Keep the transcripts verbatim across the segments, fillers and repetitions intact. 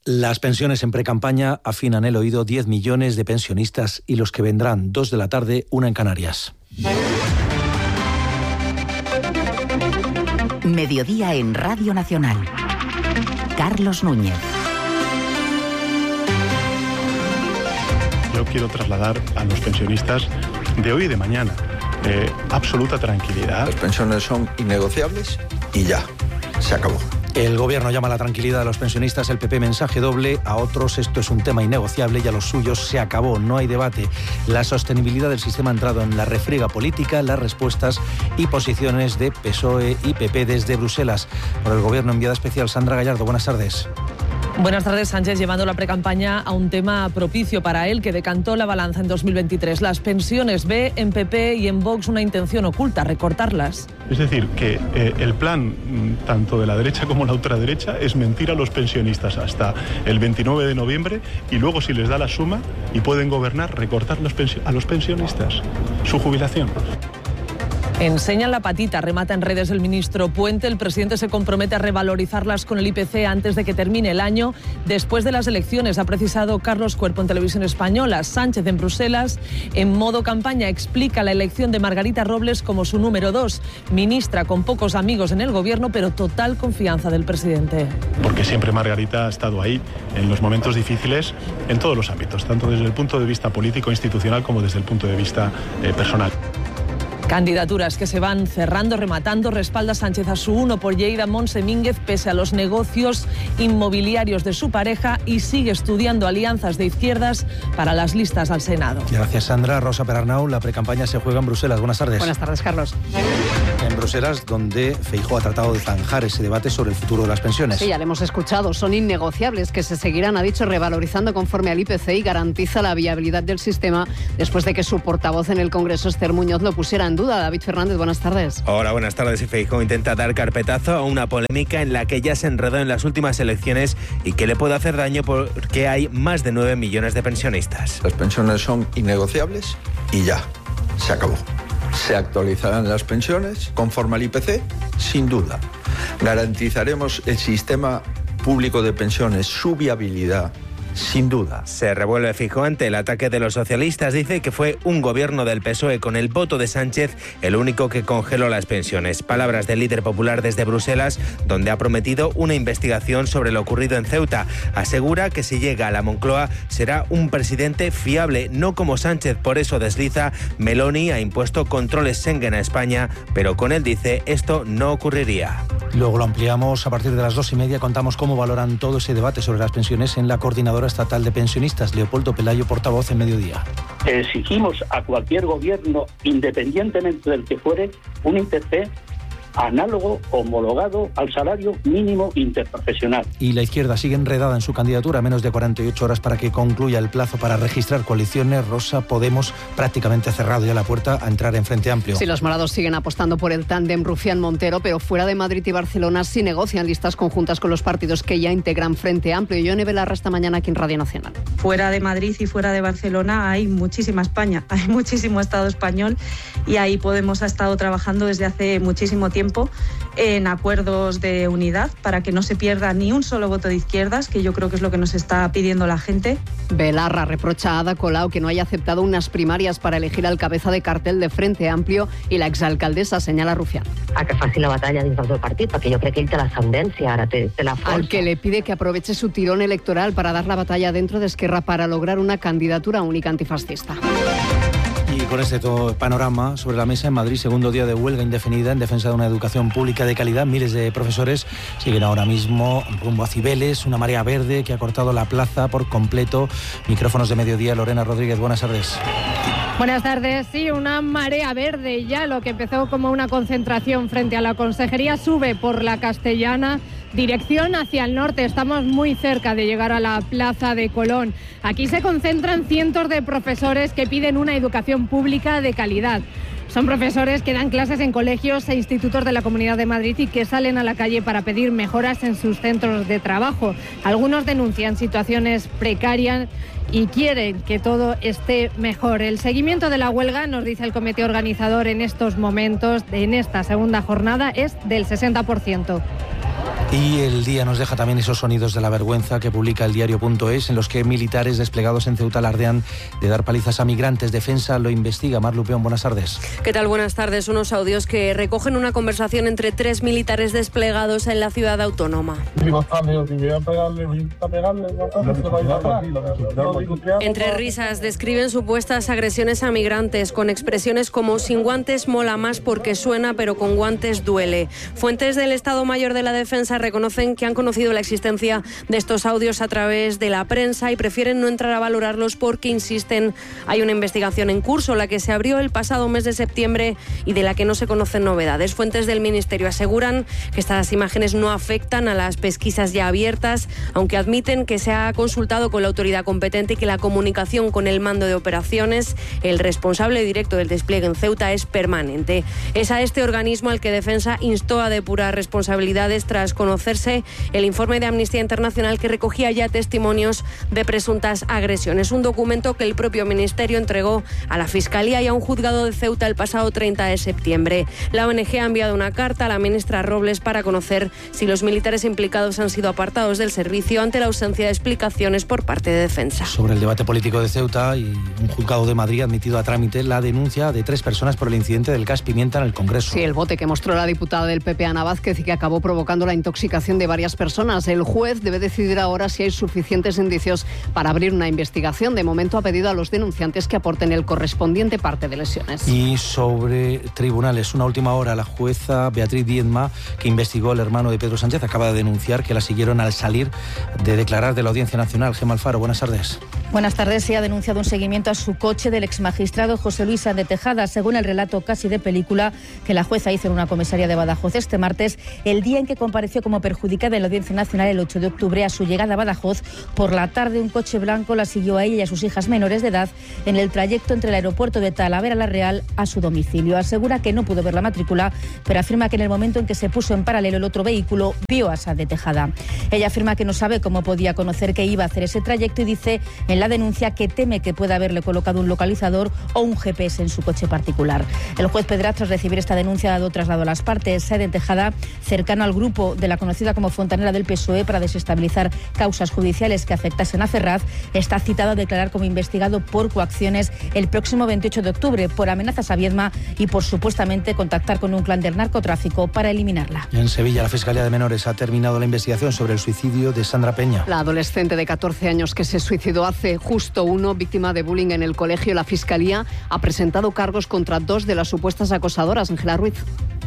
Las pensiones en precampaña afinan el oído diez millones de pensionistas y los que vendrán, dos de la tarde, una en Canarias. Mediodía en Radio Nacional. Carlos Núñez. Yo quiero trasladar a los pensionistas de hoy y de mañana eh, absoluta tranquilidad. Las pensiones son innegociables y ya, se acabó. El Gobierno llama a la tranquilidad a los pensionistas, el P P mensaje doble, a otros esto es un tema innegociable y a los suyos se acabó, no hay debate. La sostenibilidad del sistema ha entrado en la refriega política, las respuestas y posiciones de P S O E y P P desde Bruselas. Por el Gobierno, enviada especial Sandra Gallardo, buenas tardes. Buenas tardes. Sánchez llevando la precampaña a un tema propicio para él que decantó la balanza en dos mil veintitrés. Las pensiones. Ve en P P y en Vox una intención oculta, recortarlas. Es decir, que eh, el plan tanto de la derecha como la ultraderecha es mentir a los pensionistas hasta el veintinueve de noviembre y luego, si les da la suma y pueden gobernar, recortar los pensio- a los pensionistas su jubilación. Enseñan la patita, remata en redes el ministro Puente. El presidente se compromete a revalorizarlas con el I P C antes de que termine el año. Después de las elecciones, ha precisado Carlos Cuerpo en Televisión Española. Sánchez en Bruselas, en modo campaña, explica la elección de Margarita Robles como su número dos. Ministra con pocos amigos en el gobierno, pero total confianza del presidente. Porque siempre Margarita ha estado ahí en los momentos difíciles en todos los ámbitos, tanto desde el punto de vista político, institucional, como desde el punto de vista eh, personal. Candidaturas que se van cerrando, rematando. Respalda Sánchez a su uno por Lleida, Montse Mínguez, pese a los negocios inmobiliarios de su pareja, y sigue estudiando alianzas de izquierdas para las listas al Senado. Gracias, Sandra. Rosa Perarnau, la precampaña se juega en Bruselas. Buenas tardes. Buenas tardes, Carlos. En Bruselas, donde Feijóo ha tratado de zanjar ese debate sobre el futuro de las pensiones. Sí, ya lo hemos escuchado. Son innegociables, que se seguirán, ha dicho, revalorizando conforme al I P C y garantiza la viabilidad del sistema después de que su portavoz en el Congreso, Esther Muñoz, lo pusiera en duda. David Fernández, buenas tardes. Hola, buenas tardes. Y Feijóo intenta dar carpetazo a una polémica en la que ya se enredó en las últimas elecciones y que le puede hacer daño porque hay más de nueve millones de pensionistas. Las pensiones son innegociables y ya, se acabó. Se actualizarán las pensiones conforme al I P C, sin duda. Garantizaremos el sistema público de pensiones, su viabilidad, sin duda. Se revuelve Feijóo ante el ataque de los socialistas. Dice que fue un gobierno del P S O E con el voto de Sánchez el único que congeló las pensiones. Palabras del líder popular desde Bruselas, donde ha prometido una investigación sobre lo ocurrido en Ceuta. Asegura que si llega a la Moncloa será un presidente fiable, no como Sánchez. Por eso desliza, Meloni ha impuesto controles Schengen a España, pero con él dice esto no ocurriría. Luego lo ampliamos a partir de las dos y media. Contamos cómo valoran todo ese debate sobre las pensiones en la Coordinadora Estatal de Pensionistas. Leopoldo Pelayo, portavoz en Mediodía. Exigimos a cualquier gobierno, independientemente del que fuere, un I P C análogo, homologado al salario mínimo interprofesional. Y la izquierda sigue enredada en su candidatura, a menos de cuarenta y ocho horas para que concluya el plazo para registrar coaliciones. Rosa, Podemos prácticamente ha cerrado ya la puerta a entrar en Frente Amplio. Sí, los morados siguen apostando por el tándem Rufián-Montero, pero fuera de Madrid y Barcelona sí negocian listas conjuntas con los partidos que ya integran Frente Amplio. Y Yone Belarra esta mañana aquí en Radio Nacional. Fuera de Madrid y fuera de Barcelona hay muchísima España, hay muchísimo Estado español, y ahí Podemos ha estado trabajando desde hace muchísimo tiempo en acuerdos de unidad para que no se pierda ni un solo voto de izquierdas, que yo creo que es lo que nos está pidiendo la gente. Belarra reprocha a Ada Colau que no haya aceptado unas primarias para elegir al cabeza de cartel de Frente Amplio, i l'exalcaldessa senyala Rufián. A que faci la batalla dins del seu partit, perquè jo crec que ell té l'ascendència, ara té, té la força. Al que le pide que aproveche su tirón electoral para dar la batalla dentro de Esquerra para lograr una candidatura única antifascista. Y con este todo panorama sobre la mesa, en Madrid, segundo día de huelga indefinida en defensa de una educación pública de calidad. Miles de profesores siguen ahora mismo rumbo a Cibeles, una marea verde que ha cortado la plaza por completo. Micrófonos de Mediodía, Lorena Rodríguez, buenas tardes. Buenas tardes. Sí, una marea verde. Ya lo que empezó como una concentración frente a la Consejería sube por la Castellana, dirección hacia el norte. Estamos muy cerca de llegar a la Plaza de Colón. Aquí se concentran cientos de profesores que piden una educación pública de calidad. Son profesores que dan clases en colegios e institutos de la Comunidad de Madrid y que salen a la calle para pedir mejoras en sus centros de trabajo. Algunos denuncian situaciones precarias y quieren que todo esté mejor. El seguimiento de la huelga, nos dice el comité organizador en estos momentos, en esta segunda jornada, es del sesenta por ciento. Y el día nos deja también esos sonidos de la vergüenza que publica el diario punto es, en los que militares desplegados en Ceuta alardean de dar palizas a migrantes. Defensa lo investiga. Mar Lupeón, buenas tardes. ¿Qué tal? Buenas tardes. Unos audios que recogen una conversación entre tres militares desplegados en la ciudad autónoma. Entre risas describen supuestas agresiones a migrantes con expresiones como sin guantes mola más porque suena, pero con guantes duele. Fuentes del Estado Mayor de la Defensa reconocen que han conocido la existencia de estos audios a través de la prensa y prefieren no entrar a valorarlos porque, insisten, hay una investigación en curso, la que se abrió el pasado mes de septiembre y de la que no se conocen novedades. Fuentes del Ministerio aseguran que estas imágenes no afectan a las pesquisas ya abiertas, aunque admiten que se ha consultado con la autoridad competente y que la comunicación con el mando de operaciones, el responsable directo del despliegue en Ceuta, es permanente. Es a este organismo al que Defensa instó a depurar responsabilidades tras conocerse el informe de Amnistía Internacional que recogía ya testimonios de presuntas agresiones. Un documento que el propio Ministerio entregó a la Fiscalía y a un juzgado de Ceuta el pasado treinta de septiembre. La O N G ha enviado una carta a la ministra Robles para conocer si los militares implicados han sido apartados del servicio ante la ausencia de explicaciones por parte de Defensa. Sobre el debate político de Ceuta, y un juzgado de Madrid ha admitido a trámite la denuncia de tres personas por el incidente del gas pimienta en el Congreso. Sí, el bote que mostró la diputada del P P, Ana Vázquez, y que acabó provocando la intoxicación de varias personas. El juez debe decidir ahora si hay suficientes indicios para abrir una investigación. De momento ha pedido a los denunciantes que aporten el correspondiente parte de lesiones. Y sobre tribunales, una última hora, la jueza Beatriz Diezma, que investigó al hermano de Pedro Sánchez, acaba de denunciar que la siguieron al salir de declarar de la Audiencia Nacional. Gemma Alfaro, buenas tardes. Buenas tardes. Se ha denunciado un seguimiento a su coche del exmagistrado José Luis Sáenz de Tejada, según el relato casi de película que la jueza hizo en una comisaría de Badajoz este martes, el día en que compareció como perjudicada en la Audiencia Nacional el ocho de octubre. A su llegada a Badajoz, por la tarde, un coche blanco la siguió a ella y a sus hijas menores de edad en el trayecto entre el aeropuerto de Talavera la Real a su domicilio. Asegura que no pudo ver la matrícula, pero afirma que en el momento en que se puso en paralelo el otro vehículo, vio a Sáenz de Tejada. Ella afirma que no sabe cómo podía conocer que iba a hacer ese trayecto y dice en la denuncia que teme que pueda haberle colocado un localizador o un G P S en su coche particular. El juez Pedraz, tras recibir esta denuncia, ha dado traslado a las partes. Sáenz de Tejada, cercano al grupo de la conocida como Fontanera del P S O E para desestabilizar causas judiciales que afectasen a Ferraz, está citado a declarar como investigado por coacciones el próximo veintiocho de octubre por amenazas a Viedma y por supuestamente contactar con un clan del narcotráfico para eliminarla. En Sevilla, la Fiscalía de Menores ha terminado la investigación sobre el suicidio de Sandra Peña. La adolescente de catorce años que se suicidó hace justo uno, víctima de bullying en el colegio. La Fiscalía ha presentado cargos contra dos de las supuestas acosadoras. Ángela Ruiz.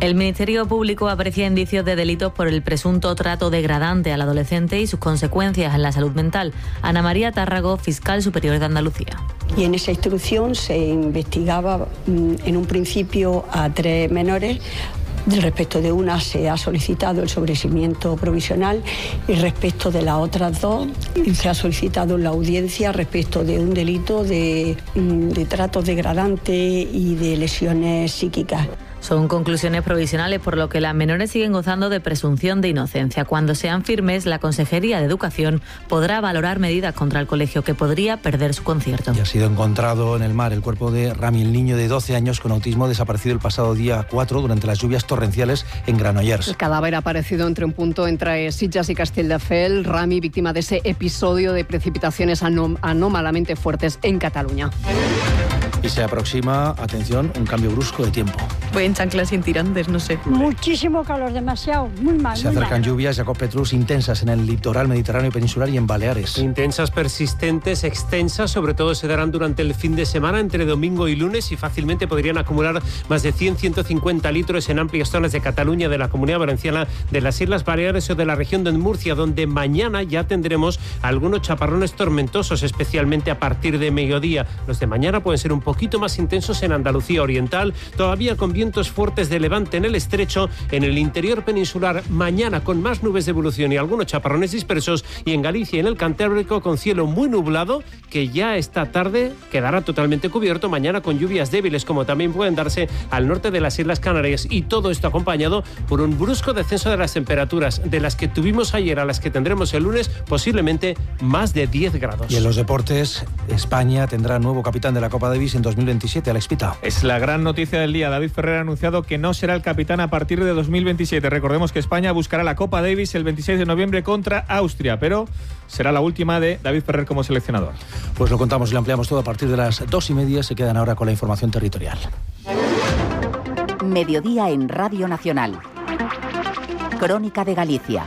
El Ministerio Público aprecia indicios de delitos por el presunto trato degradante al adolescente y sus consecuencias en la salud mental. Ana María Tárrago, fiscal superior de Andalucía. Y en esa instrucción se investigaba en un principio a tres menores. Respecto de una se ha solicitado el sobreseimiento provisional y respecto de las otras dos se ha solicitado la audiencia respecto de un delito de, de tratos degradantes y de lesiones psíquicas. Son conclusiones provisionales, por lo que las menores siguen gozando de presunción de inocencia. Cuando sean firmes, la Consejería de Educación podrá valorar medidas contra el colegio que podría perder su concierto. Y ha sido encontrado en el mar el cuerpo de Rami, el niño de doce años con autismo desaparecido el pasado día cuatro durante las lluvias torrenciales en Granollers. El cadáver ha aparecido entre un punto entre Sitges y Castelldefels. Rami, víctima de ese episodio de precipitaciones anóm- anómalamente fuertes en Cataluña. Y se aproxima, atención, un cambio brusco de tiempo. Voy en chanclas sin tirantes, no sé. Muchísimo calor, demasiado, muy mal. Se muy acercan mal. lluvias, Jacob Petrus, intensas en el litoral mediterráneo y peninsular y en Baleares. Intensas, persistentes, extensas, sobre todo se darán durante el fin de semana, entre domingo y lunes, y fácilmente podrían acumular más de cien a ciento cincuenta litros en amplias zonas de Cataluña, de la Comunidad Valenciana, de las Islas Baleares o de la región de Murcia, donde mañana ya tendremos algunos chaparrones tormentosos, especialmente a partir de mediodía. Los de mañana pueden ser un poquito más intensos en Andalucía Oriental, todavía con vientos fuertes de levante en el estrecho, en el interior peninsular mañana con más nubes de evolución y algunos chaparrones dispersos, y en Galicia y en el Cantábrico con cielo muy nublado que ya esta tarde quedará totalmente cubierto, mañana con lluvias débiles como también pueden darse al norte de las Islas Canarias, y todo esto acompañado por un brusco descenso de las temperaturas de las que tuvimos ayer a las que tendremos el lunes, posiblemente más de diez grados. Y en los deportes, España tendrá nuevo capitán de la Copa Davis en dos mil veintisiete, Alex Pita. Es la gran noticia del día. David Ferrer haber anunciado que no será el capitán a partir de dos mil veintisiete. Recordemos que España buscará la Copa Davis el veintiséis de noviembre contra Austria, pero será la última de David Ferrer como seleccionador. Pues lo contamos y lo ampliamos todo a partir de las dos y media. Se quedan ahora con la información territorial. Mediodía en Radio Nacional. Crónica de Galicia.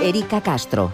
Erika Castro.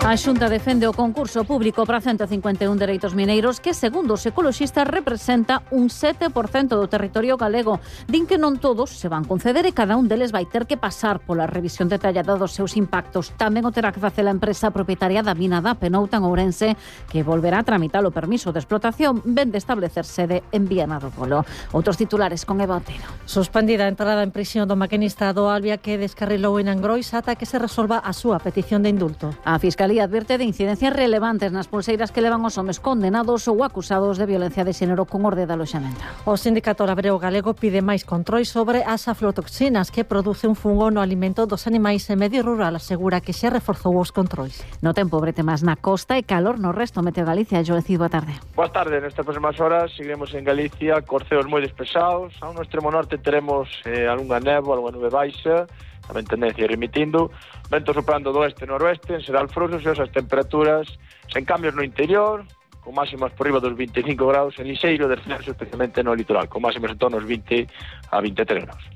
A Xunta defende o concurso público para ciento cincuenta e un dereitos mineiros que, segundo os ecoloxistas, representa un sete por cento do territorio galego. Din que non todos se van conceder e cada un deles vai ter que pasar pola revisión detallada dos seus impactos. Tamén o terá que facer a empresa propietaria da mina da Penouta en Ourense, que volverá a tramitar o permiso de explotación, ven de establecer sede en Viana do Polo. Outros titulares con Eva Otero. Suspendida a entrada en prisión do maquinista do Albia que descarrilou en Angrois ata que se resolva a súa petición de indulto. A Fiscalía advirte de incidencias relevantes nas pulseiras que levan os homes condenados ou acusados de violencia de xénero con orde de aloxamento. O Sindicato Labreo Galego pide máis controis sobre as aflotoxinas que produce un fungo no alimento dos animais e Medio Rural asegura que xa reforzou os controis. No tempo brete máis na costa e calor no resto. Meteo Galicia, Joecido, a tarde. Boas tardes, nestas próximas horas seguiremos en Galicia, corceos moi despesados. A un extremo norte teremos eh, algunha néboa, algunha nube baixa, tamén tendencia remitindo, vento soprando do oeste e noroeste, en Sedal Frosos e as temperaturas sen cambios no interior, con máximas por riba dos vinte e cinco graus, en lixeiro descenso especialmente no litoral, con máximas en torno aos vinte a vinte e tres graus.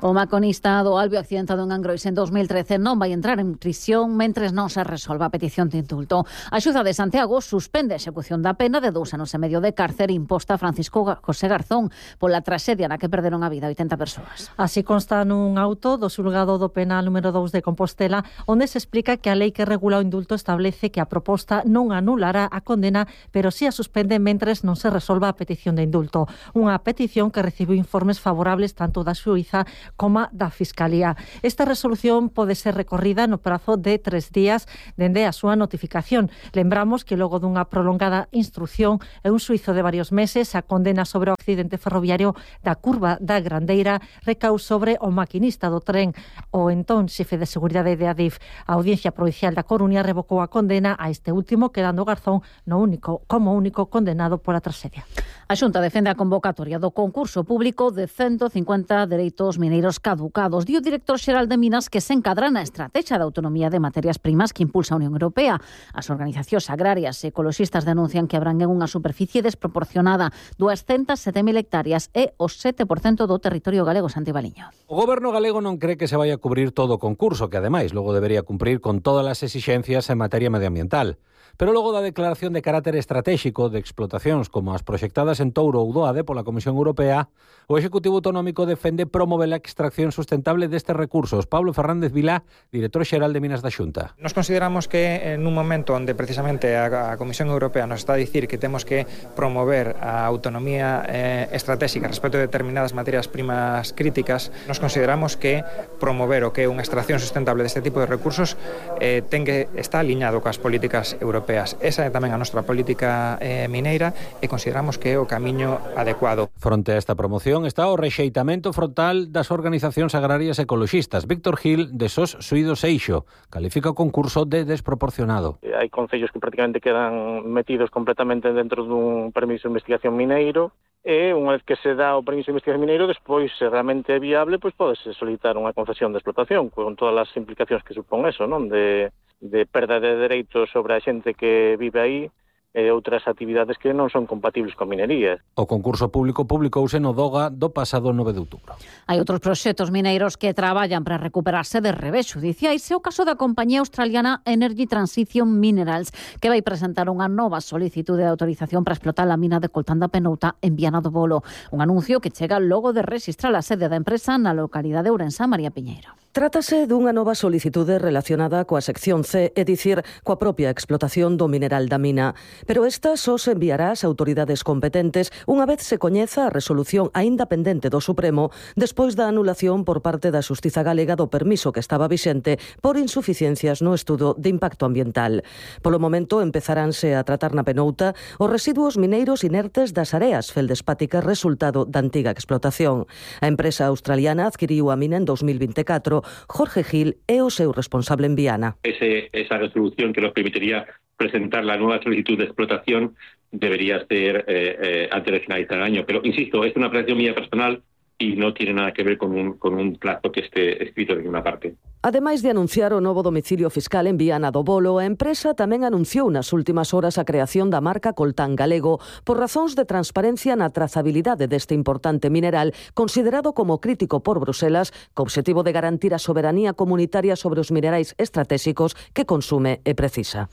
O maconista do Albio accidentado en Angrois en dos mil trece non vai entrar en prisión mentres non se resolva a petición de indulto. A Xunta de Santiago suspende a execución da pena de dous anos e medio de cárcere imposta a Francisco José Garzón pola traxedia na que perderon a vida oitenta persoas. Así consta nun auto do xulgado do penal número dous de Compostela, onde se explica que a lei que regula o indulto establece que a proposta non anulará a condena, pero si a suspende mentres non se resolva a petición de indulto. Unha petición que recibiu informes favorables tanto da xuíza como da Fiscalía. Esta resolución pode ser recorrida no prazo de tres días dende a súa notificación. Lembramos que logo dunha prolongada instrucción e un suizo de varios meses, a condena sobre o accidente ferroviario da curva da Grandeira recau sobre o maquinista do tren, o entón xefe de seguridade de Adif. A Audiencia Provincial da Coruña revocou a condena a este último, quedando Garzón no único como único condenado pola traxedia. A Xunta defende a convocatoria do concurso público de ciento cincuenta dereitos mineiros caducados. Dio o director xeral de Minas que se encadra na estrategia de autonomía de materias primas que impulsa a Unión Europea. As organizacións agrarias e ecoloxistas denuncian que abranguen unha superficie desproporcionada, duascentas e sete mil hectáreas e o sete por cento do territorio galego. Santi Baliño. O goberno galego non cree que se vai a cubrir todo o concurso, que ademais logo debería cumprir con todas as exixencias en materia medioambiental. Pero logo da declaración de carácter estratégico de explotacións como as proxectadas en Touro ou Doade pola Comisión Europea, o Executivo Autonómico defende promover a extracción sustentable destes recursos. Pablo Fernández Vilá, director xeral de Minas da Xunta. Nos consideramos que en un momento onde precisamente a, a Comisión Europea nos está a dicir que temos que promover a autonomía eh, estratégica respecto de determinadas materias primas críticas, nos consideramos que promover o que é unha extracción sustentable deste tipo de recursos eh, ten que está aliñado coas políticas europeas. Esa é tamén a nosa política eh, mineira e consideramos que é o camiño adecuado. Fronte a esta promoción está o rexeitamento frontal das organizacións agrarias ecoloxistas. Víctor Gil, de Sos Suído Seixo, califica o concurso de desproporcionado. Hai concellos que prácticamente quedan metidos completamente dentro dun permiso de investigación mineiro, e unha vez que se dá o permiso de investigación mineiro, despois, se realmente é viable, pois pódese solicitar unha concesión de explotación, con todas as implicacións que supón eso, non? De, de perda de dereitos sobre a xente que vive aí, e outras actividades que non son compatibles con minería. O concurso público publicouse no Doga do pasado nove de outubro. Hai outros proxectos mineiros que traballan para recuperarse de revés xudiciais. É o caso da compañía australiana Energy Transition Minerals, que vai presentar unha nova solicitude de autorización para explotar a mina de coltán da Penouta en Viana do Bolo. Un anuncio que chega logo de registrar a sede da empresa na localidade de Ourense. María Piñeiro. Trátase dunha nova solicitude relacionada coa sección C, é dicir, coa propia explotación do mineral da mina. Pero esta só se enviará ás autoridades competentes unha vez se coñeza a resolución aínda pendente do Supremo despois da anulación por parte da Xustiza Galega do permiso que estaba vixente por insuficiencias no estudo de impacto ambiental. Polo momento empezaránse a tratar na Penouta os residuos mineiros inertes das areas feldespáticas resultado da antiga explotación. A empresa australiana adquiriu a mina en dos mil vinte e catro. Jorge Gil é o seu responsable en Viana. Ese, esa resolución que nos permitiría presentar la nueva solicitud de explotación debería ser eh, eh, antes de finalizar el año. Pero, insisto, es una apreciación mía personal y no tiene nada que ver con un, con un plazo que esté escrito de ninguna parte. Ademais de anunciar o novo domicilio fiscal en Viana do Bolo, a empresa tamén anunciou nas últimas horas a creación da marca Coltán Galego por razóns de transparencia na trazabilidade deste importante mineral considerado como crítico por Bruselas co obxectivo de garantir a soberanía comunitaria sobre os minerais estratégicos que consume e precisa.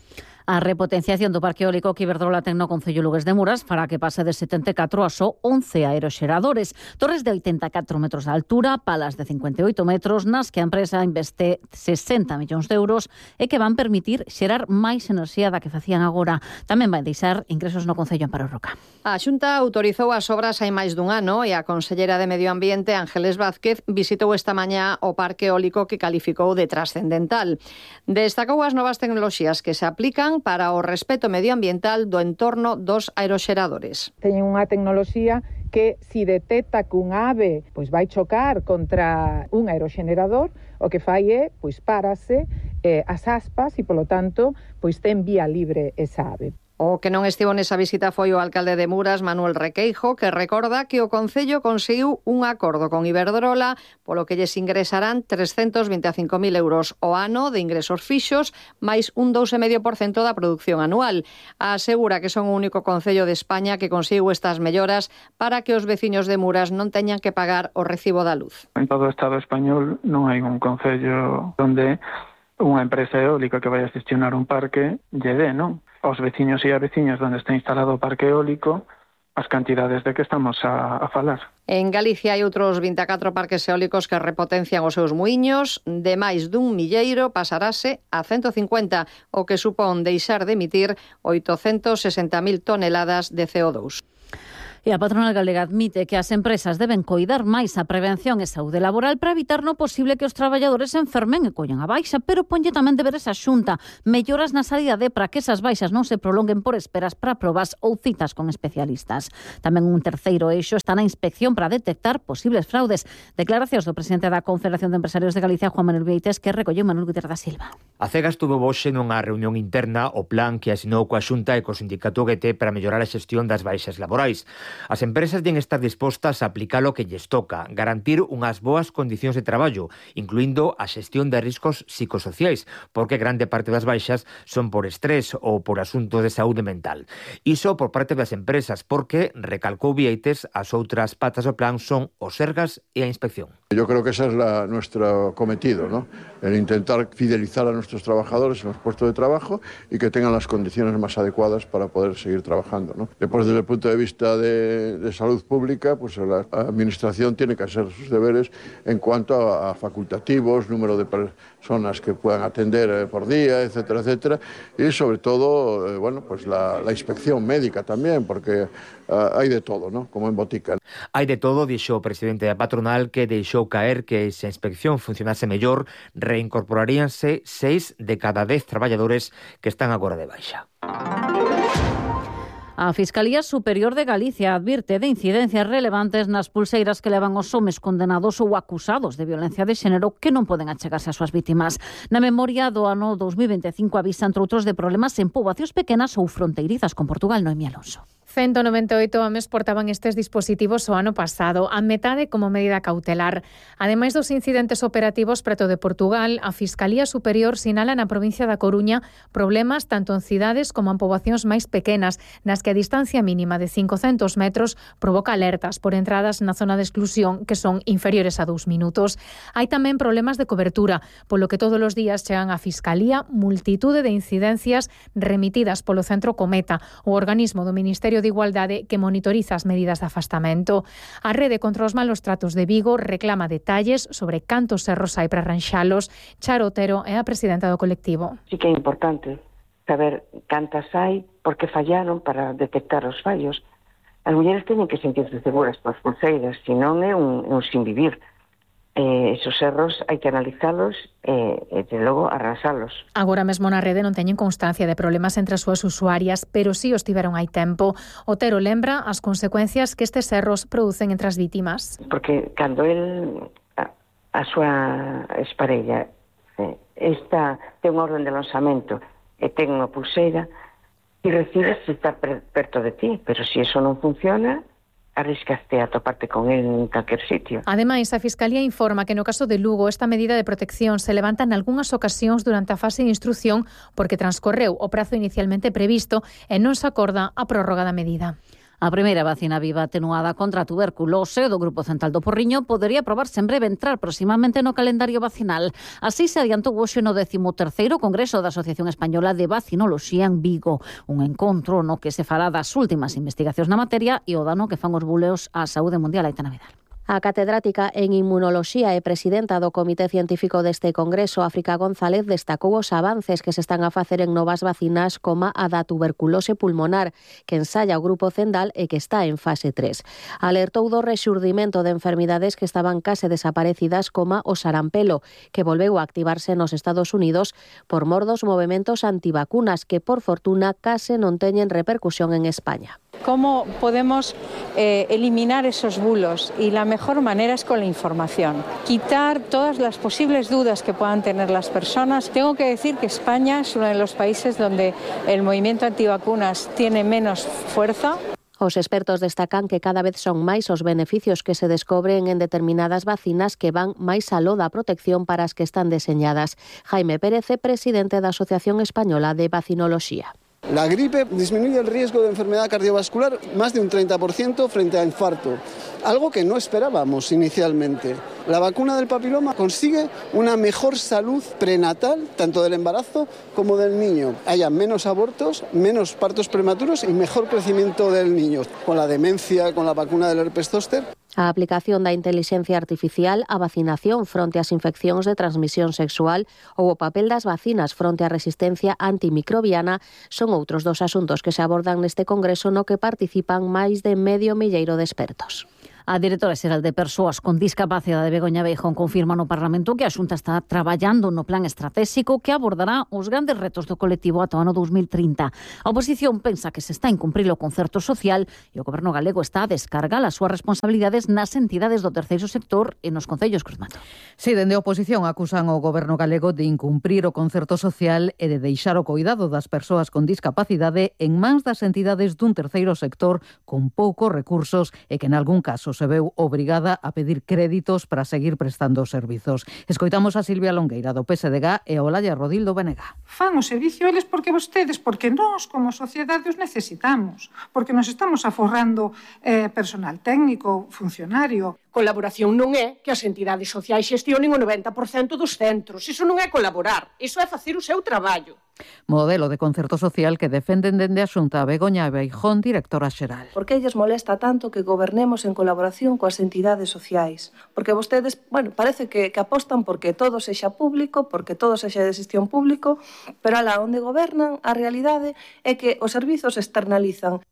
A repotenciación do parque eólico que Iberdrola ten no Concello Lugués de Muras fará que pase de setenta e catro a só once aeroxeradores. Torres de oitenta e catro metros de altura, palas de cincuenta e oito metros, nas que a empresa investe sesenta millóns de euros e que van permitir xerar máis enerxía da que facían agora. Tamén vai deixar ingresos no Concello Amparo Roca. A Xunta autorizou as obras hai máis dun ano e a consellera de Medio Ambiente, Ángeles Vázquez, visitou esta mañá o parque eólico que calificou de trascendental. Destacou as novas tecnoloxías que se aplican para o respeto medioambiental do entorno dos aeroxeradores. Teñen unha tecnoloxía que si detecta que un ave pois vai chocar contra un aeroxenerador, o que fai é pois párase eh, as aspas e, polo tanto, pois ten vía libre esa ave. O que non estivo nesa visita foi o alcalde de Muras, Manuel Requeijo, que recorda que o Concello conseguiu un acordo con Iberdrola polo que lles ingresarán trescentos vinte e cinco mil euros o ano de ingresos fixos, máis un dous vírgula cinco por cento da produción anual. Asegura que son o único Concello de España que conseguiu estas melloras para que os veciños de Muras non teñan que pagar o recibo da luz. En todo o Estado español non hai un Concello onde unha empresa eólica que vai a gestionar un parque lle dé, non? Aos veciños e a veciñas onde está instalado o parque eólico as cantidades de que estamos a, a falar. En Galicia hai outros vinte e catro parques eólicos que repotencian os seus muiños. De máis dun milleiro pasarase a ciento cincuenta, o que supón deixar de emitir oitocentos sesenta mil toneladas de C O dos. E a patronal galega admite que as empresas deben coidar máis a prevención e saúde laboral para evitar no posible que os traballadores se enfermen e collan a baixa, pero ponlle tamén deberes a Xunta, melloras na sanidade para que esas baixas non se prolonguen por esperas para probas ou citas con especialistas. Tamén un terceiro eixo está na inspección para detectar posibles fraudes. Declaracións do presidente da Confederación de Empresarios de Galicia, Juan Manuel Vieites, que recolleu Manuel Guterres da Silva. A CEGAS tuvo hoxe nunha reunión interna o plan que asinou coa Xunta e co sindicato G T para mellorar a xestión das baixas laborais. As empresas deben estar dispostas a aplicar o que lles toca, garantir unhas boas condicións de traballo, incluindo a xestión de riscos psicosociais, porque grande parte das baixas son por estrés ou por asuntos de saúde mental. Iso por parte das empresas, porque, recalcou Vieites, as outras patas do plan son os sergas e a inspección. Yo creo que ese es la, nuestro cometido, ¿no? El intentar fidelizar a nuestros trabajadores en los puestos de trabajo y que tengan las condiciones más adecuadas para poder seguir trabajando, ¿no? Después, desde el punto de vista de, de salud pública, pues la administración tiene que hacer sus deberes en cuanto a, a facultativos, número de personas que puedan atender eh, por día, etcétera, etcétera, y sobre todo, eh, bueno, pues la, la inspección médica también, porque uh, hay de todo, ¿no? Como en botica. Hai de todo, dixo o presidente da patronal, que deixou caer que se a inspección funcionase mellor, reincorporaríanse seis de cada dez traballadores que están agora de baixa. A Fiscalía Superior de Galicia advirte de incidencias relevantes nas pulseiras que levan os homes condenados ou acusados de violencia de xénero que non poden achegarse ás súas vítimas. Na memoria do ano dos mil vinte e cinco avisa, entre outros, de problemas en poboacións pequenas ou fronteirizas con Portugal. Noemí Alonso. ciento noventa e oito homes portaban estes dispositivos o ano pasado, a metade como medida cautelar. Ademais dos incidentes operativos preto de Portugal, a Fiscalía Superior sinala na provincia da Coruña problemas tanto en cidades como en poboacións máis pequenas, nas que a distancia mínima de cincocentos metros provoca alertas por entradas na zona de exclusión que son inferiores a dous minutos. Hai tamén problemas de cobertura, polo que todos os días chegan á Fiscalía multitude de incidencias remitidas polo Centro Cometa, o organismo do Ministerio de Igualdade que monitoriza as medidas de afastamento. A Rede contra os malos tratos de Vigo reclama detalles sobre cantos erros hai para arranxalos. Charo Otero é a presidenta do colectivo. Sí que é importante saber cantas hai, porque fallaron para detectar os fallos. As mulleres teñen que sentirse seguras polas pulseiras, senón é un, un sin vivir. Eh, esos erros hai que analizalos e, e de logo, arrasalos. Agora mesmo na rede non teñen constancia de problemas entre as súas usuarias, pero sí os tiveron hai tempo. Otero lembra as consecuencias que estes erros producen entre as vítimas. Porque cando el, a, a súa exparella, eh, esta ten un orden de lanzamento e ten unha pulseira e recibes se está perto de ti, pero se eso non funciona, arriscaste a toparte con él en calquer sitio. Ademais, a Fiscalía informa que no caso de Lugo esta medida de protección se levanta en algunhas ocasións durante a fase de instrucción porque transcorreu o prazo inicialmente previsto e non se acorda a prórroga da medida. A primeira vacina viva atenuada contra a tuberculose do Grupo Central do Porriño podería aprobarse en breve entrar próximamente no calendario vacinal. Así se adiantou hoxe no décimo terceiro Congreso da Asociación Española de Vacinoloxía en Vigo, un encontro no que se fará das últimas investigacións na materia e o dano que fan os buleos á saúde mundial. Aita Navidad. A catedrática en Inmunoloxía e presidenta do Comité Científico deste Congreso, África González, destacou os avances que se están a facer en novas vacinas como a da tuberculose pulmonar, que ensaya o Grupo Cendal e que está en fase tres. Alertou do rexurdimento de enfermidades que estaban case desaparecidas como o sarampelo, que volveu a activarse nos Estados Unidos por mor dos movementos antivacunas que, por fortuna, case non teñen repercusión en España. ¿Cómo podemos eh, eliminar esos bulos? Y la mejor manera es con la información. Quitar todas las posibles dudas que puedan tener las personas. Tengo que decir que España es uno de los países donde el movimiento antivacunas tiene menos fuerza. Os expertos destacan que cada vez son máis os beneficios que se descobren en determinadas vacinas que van máis aló da protección para as que están deseñadas. Jaime Pérez, presidente da Asociación Española de Vacinoloxía. La gripe disminuye el riesgo de enfermedad cardiovascular más de un treinta por ciento frente a infarto, algo que no esperábamos inicialmente. La vacuna del papiloma consigue una mejor salud prenatal, tanto del embarazo como del niño. Haya menos abortos, menos partos prematuros y mejor crecimiento del niño. Con la demencia, con la vacuna del herpes zóster. A aplicación da inteligencia artificial, a vacinación fronte ás infeccións de transmisión sexual ou o papel das vacinas fronte á resistencia antimicrobiana son outros dos asuntos que se abordan neste congreso no que participan máis de medio milleiro de expertos. A directora xeral de Persoas con Discapacidade, Begoña Beijón, confirma no Parlamento que a Xunta está traballando no plan estratégico que abordará os grandes retos do colectivo ata o ano dos mil trinta. A oposición pensa que se está a incumprir o concerto social e o Goberno galego está a descargar as súas responsabilidades nas entidades do terceiro sector e nos concellos. Cruzmato. Si, dende a oposición acusan o Goberno galego de incumprir o concerto social e de deixar o cuidado das persoas con discapacidade en mans das entidades dun terceiro sector con poucos recursos e que en algún caso se veu obrigada a pedir créditos para seguir prestando os servizos. Escoitamos a Silvia Longueira do P S D G e a Olalla Rodil do B N G. Fan o servicio eles porque vostedes, porque nós como sociedade os necesitamos, porque nos estamos aforrando eh, personal técnico, funcionario. Colaboración non é que as entidades sociais xestionen o noventa por cento dos centros. Iso non é colaborar, iso é facer o seu traballo. Modelo de concerto social que defenden dende a Xunta Begoña Beijón, directora xeral. Por que lles molesta tanto que gobernemos en colaboración coas entidades sociais? Porque vostedes, bueno, parece que, que apostan porque todo sexa público, porque todo sexa de xestión público, pero alá onde gobernan, a realidade é que os servizos se externalizan.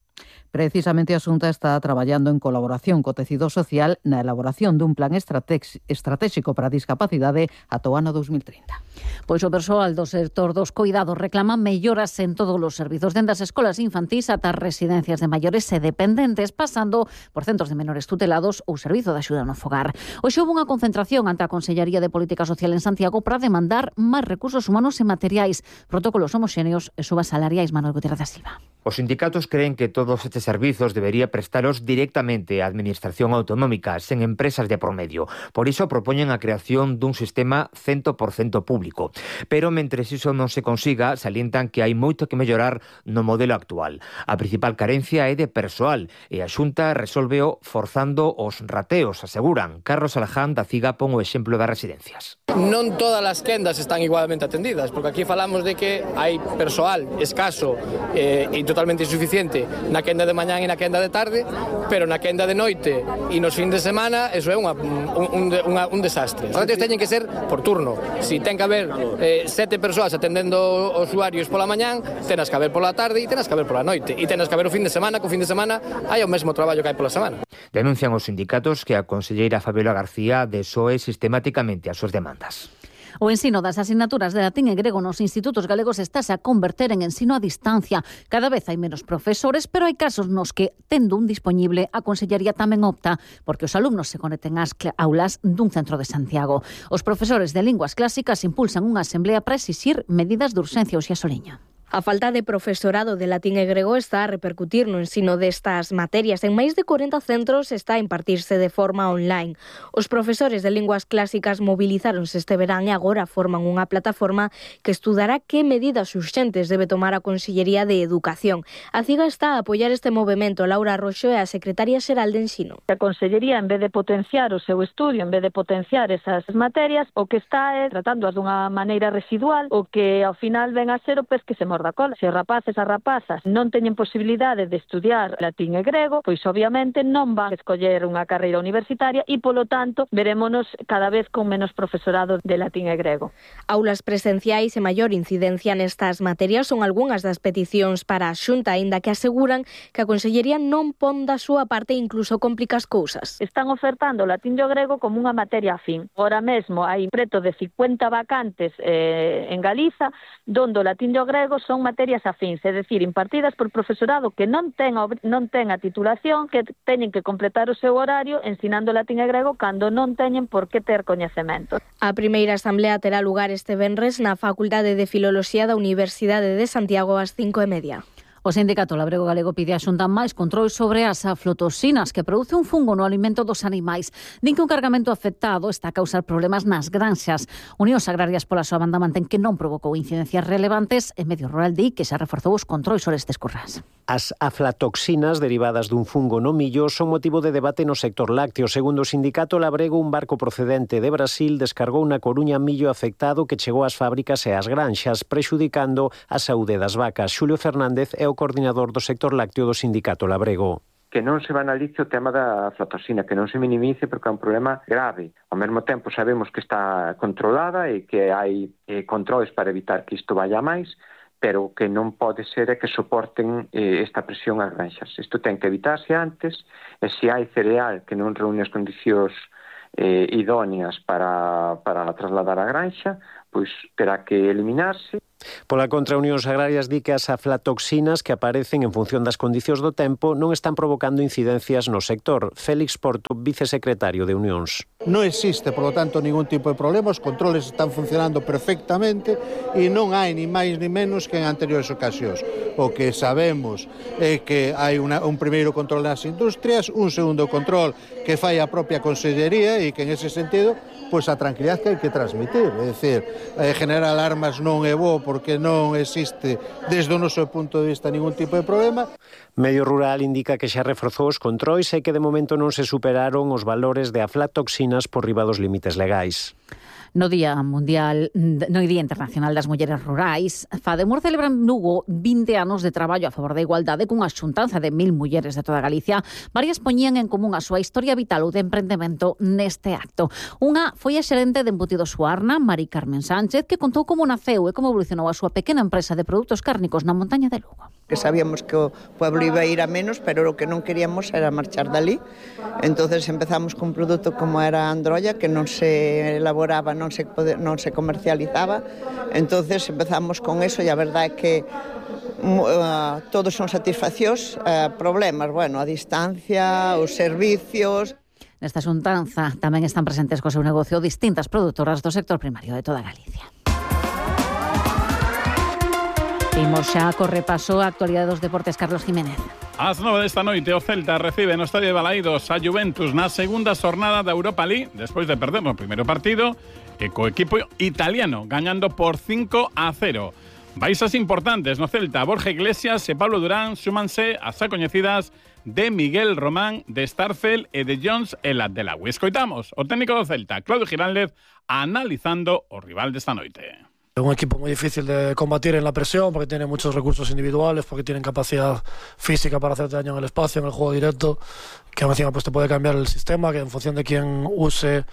Precisamente a Xunta está traballando en colaboración co tecido social na elaboración dun plan estratégico para a discapacidade ata o ano dos mil trinta. Pois o persoal do sector dos coidados reclama melloras en todos os servizos, dende as escolas infantís ata as residencias de maiores e dependentes, pasando por centros de menores tutelados ou servizo de axuda no fogar. Hoxe houve unha concentración ante a Consellería de Política Social en Santiago para demandar máis recursos humanos e materiais, protocolos homoxéneos e subas salariais. Manuel Gutiérrez da Silva. Os sindicatos creen que todos estes servizos debería prestaros directamente a Administración Autonómica, sen empresas de por medio. Por iso propoñen a creación dun sistema cen por cento público. Pero mentres iso non se consiga, salientan que hai moito que mellorar no modelo actual. A principal carencia é de persoal e a Xunta resolveo forzando os rateos, aseguran. Carlos Alaján da CIGA pon o exemplo das residencias. Non todas as quendas están igualmente atendidas, porque aquí falamos de que hai persoal escaso eh, e totalmente insuficiente na quenda de mañán e na quenda de tarde, pero na quenda de noite e nos fin de semana eso é unha, un, un, unha, un desastre. Os rateos teñen que ser por turno. Si ten que haber eh, sete persoas atendendo os usuarios pola mañán, tenas que haber pola tarde e tenas que haber pola noite. E tenas que haber o fin de semana, que o fin de semana hai o mesmo traballo que hai pola semana. Denuncian os sindicatos que a conselleira Fabiola García desoe sistemáticamente as súas demandas. O ensino das asignaturas de latín e grego nos institutos galegos estáse a converter en ensino a distancia. Cada vez hai menos profesores, pero hai casos nos que, tendo un dispoñible, a Consellería tamén opta porque os alumnos se conecten ás aulas dun centro de Santiago. Os profesores de linguas clásicas impulsan unha asemblea para exixir medidas de urxencia. Uxía Soliña. A falta de profesorado de latín e grego está a repercutir no ensino destas materias. En máis de corenta centros está a impartirse de forma online. Os profesores de linguas clásicas mobilizáronse este verán e agora forman unha plataforma que estudará que medidas urxentes debe tomar a Consellería de Educación. A CIGA está a apoiar este movimento. Laura Roxo é a secretaria xeral de Ensino. A Consellería, en vez de potenciar o seu estudio, en vez de potenciar esas materias, o que está é tratándoas dunha maneira residual, o que ao final ven a ser o pez que se morda a cola. Se os rapaces e rapazas non teñen posibilidade de estudiar latín e grego, pois obviamente non van a escoller unha carreira universitaria e, polo tanto, verémonos cada vez con menos profesorado de latín e grego. Aulas presenciais e maior incidencia nestas materias son algunhas das peticións para a Xunta, aínda que aseguran que a Consellería non pon da súa parte e incluso complica as cousas. Están ofertando o latín e o grego como unha materia afín. Ahora mesmo hai preto de cincuenta vacantes eh, en Galiza, donde o latín e o grego son materias afíns, é dicir, impartidas por profesorado que non ten a, non ten a titulación, que teñen que completar o seu horario ensinando latín e grego cando non teñen por que ter coñecemento. A primeira asamblea terá lugar este venres na Facultade de Filoloxía da Universidade de Santiago ás cinco e media. O sindicato labrego galego pide a Xunta máis control sobre as aflatoxinas, que produce un fungo no alimento dos animais. Din que un cargamento afectado está a causar problemas nas granxas. Unións Agrarias pola súa banda mantén que non provocou incidencias relevantes e Medio Rural di que se reforzou os controis sobre estes currás. As aflatoxinas derivadas dun fungo no millo son motivo de debate no sector lácteo. Segundo o sindicato labrego, un barco procedente de Brasil descargou na Coruña millo afectado que chegou ás fábricas e ás granxas, prexudicando a saúde das vacas. Xulio Fernández é o coordinador do sector lácteo do sindicato labrego. Que non se banalice o tema da aflatoxina, que non se minimice porque é un problema grave. Ao mesmo tempo sabemos que está controlada e que hai eh, controles para evitar que isto vaya máis, pero que non pode ser que soporten eh, esta presión ás granxas. Isto ten que evitarse antes, e se hai cereal que non reúne as condicións eh, idóneas para, para trasladar a granxa, pois terá que eliminarse. Pola contra, Unións Agrarias di que as aflatoxinas que aparecen en función das condicións do tempo non están provocando incidencias no sector. Félix Porto, vicesecretario de Unións. Non existe, por lo tanto, ningún tipo de problema, os controles están funcionando perfectamente e non hai ni máis ni menos que en anteriores ocasións. O que sabemos é que hai una, un primeiro control nas industrias, un segundo control que fai a propia Consellería e que en ese sentido pois a tranquilidade que hai que transmitir, é dicir, eh, generar alarmas non é bo porque non existe desde o noso punto de vista ningún tipo de problema. Medio Rural indica que xa reforzou os controis e que de momento non se superaron os valores de aflatoxinas por riba dos límites legais. No Día Mundial, no Día Internacional das Mulleres Rurais, Fademur celebra en Lugo vinte anos de traballo a favor da igualdade cunha xuntanza de mil mulleres de toda Galicia. Varias poñían en común a súa historia vital ou de emprendemento neste acto. Unha foi a xerente de Embutidos Suarna, Mari Carmen Sánchez, que contou como naceu e como evolucionou a súa pequena empresa de produtos cárnicos na montaña de Lugo. Que sabíamos que o pueblo iba a ir a menos, pero o que non queríamos era marchar dali. Entonces empezamos cun produto como era a androlla, que non se elaboraba, non se, non se comercializaba. Entonces empezamos con eso e a verdade é que uh, todos son satisfaccións, uh, problemas, bueno, a distancia, os servicios. Nesta xuntanza tamén están presentes co seu negocio distintas produtoras do sector primario de toda Galicia. Imos xa co repaso a actualidade dos deportes. Carlos Jiménez. Ás nove desta noite o Celta recibe no Estadio de Balaídos a Juventus na segunda xornada da Europa League despois de perder no primeiro partido e co equipo italiano gañando por cinco a cero. Baixas importantes no Celta. Borja Iglesias e Pablo Durán súmanse as xa coñecidas de Miguel Román, de Starfel e de Jones el Adelawi. Escoitamos o técnico do Celta, Claudio Giraldez, analizando o rival desta noite. Un equipo muy difícil de combatir en la presión porque tiene muchos recursos individuales, porque tienen capacidad física para hacer daño en el espacio, en el juego directo, que encima pues te puede cambiar el sistema, que en función de quién use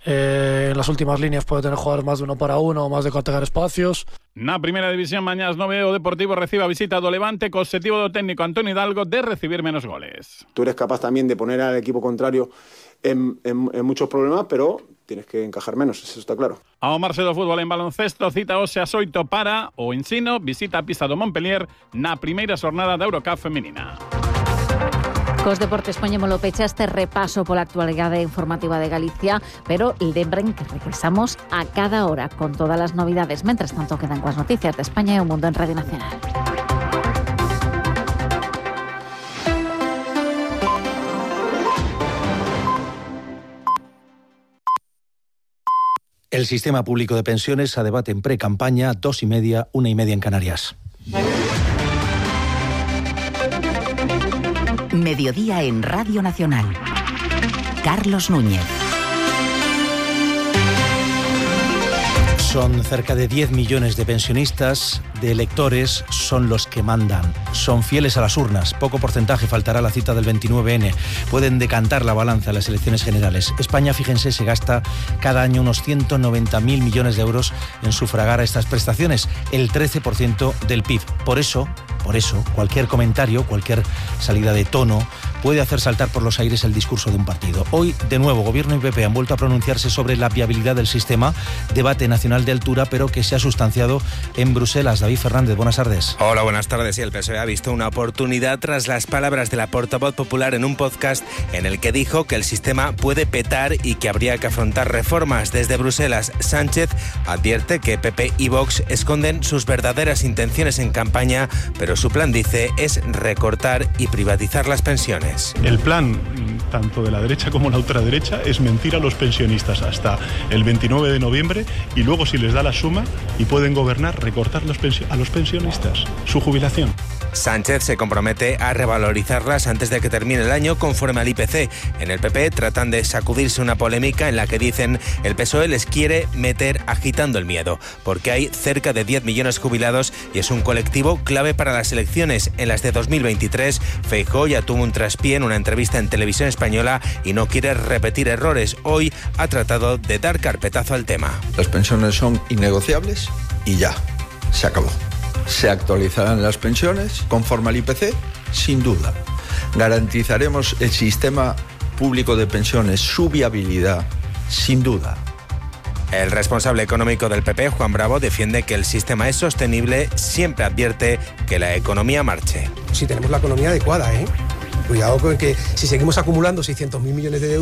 eh, en las últimas líneas puede tener jugadores más de uno para uno o más de atacar espacios. Na primeira división mañá ás nove o Deportivo recibe a visita do Levante co objetivo do técnico Antonio Hidalgo de recibir menos goles. Tú eres capaz también de poner al equipo contrario en, en, en muchos problemas, pero tienes que encajar menos, eso está claro. Ao marxe do fútbol en baloncesto, cita hoxe ás oito para o Ensino, visita a pista do Montpellier na primeira xornada da Eurocup feminina. Cos deportes poñémolo pecha este repaso pola actualidade informativa de Galicia, pero lembren que regresamos a cada hora con todas as novidades. Mentres tanto, quedan coas noticias de España e o mundo en Radio Nacional. El sistema público de pensiones a debate en pre-campaña, dos y media, una y media en Canarias. Mediodía en Radio Nacional. Carlos Núñez. Son cerca de diez millones de pensionistas, de electores, son los que mandan. Son fieles a las urnas. Poco porcentaje faltará a la cita del veintinueve ene. Pueden decantar la balanza en las elecciones generales. España, fíjense, se gasta cada año unos ciento noventa mil millones de euros en sufragar a estas prestaciones, el trece por ciento del P I B. Por eso, por eso, cualquier comentario, cualquier salida de tono puede hacer saltar por los aires el discurso de un partido. Hoy, de nuevo, Gobierno y P P han vuelto a pronunciarse sobre la viabilidad del sistema, debate nacional de altura, pero que se ha sustanciado en Bruselas. David Fernández, buenas tardes. Hola, buenas tardes. Y el P S O E ha visto una oportunidad tras las palabras de la portavoz popular en un podcast en el que dijo que el sistema puede petar y que habría que afrontar reformas. Desde Bruselas, Sánchez advierte que P P y Vox esconden sus verdaderas intenciones en campaña, pero su plan, dice, es recortar y privatizar las pensiones. El plan, tanto de la derecha como la ultraderecha, es mentir a los pensionistas hasta el veintinueve de noviembre y luego, si les da la suma y pueden gobernar, recortar los pensio- a los pensionistas su jubilación. Sánchez se compromete a revalorizarlas antes de que termine el año conforme al I P C. En el P P tratan de sacudirse una polémica en la que dicen el P S O E les quiere meter agitando el miedo, porque hay cerca de diez millones jubilados y es un colectivo clave para las elecciones. En las de dos mil veintitrés, Feijóo ya tuvo un traspié en una entrevista en Televisión Española y no quiere repetir errores. Hoy ha tratado de dar carpetazo al tema. Las pensiones son innegociables y ya, se acabó. Se actualizarán las pensiones conforme al I P C, sin duda. Garantizaremos el sistema público de pensiones, su viabilidad, sin duda. El responsable económico del P P, Juan Bravo, defiende que el sistema es sostenible, siempre advierte que la economía marche. Si tenemos la economía adecuada, ¿eh? Cuidado con que si seguimos acumulando seiscientos mil millones de deuda,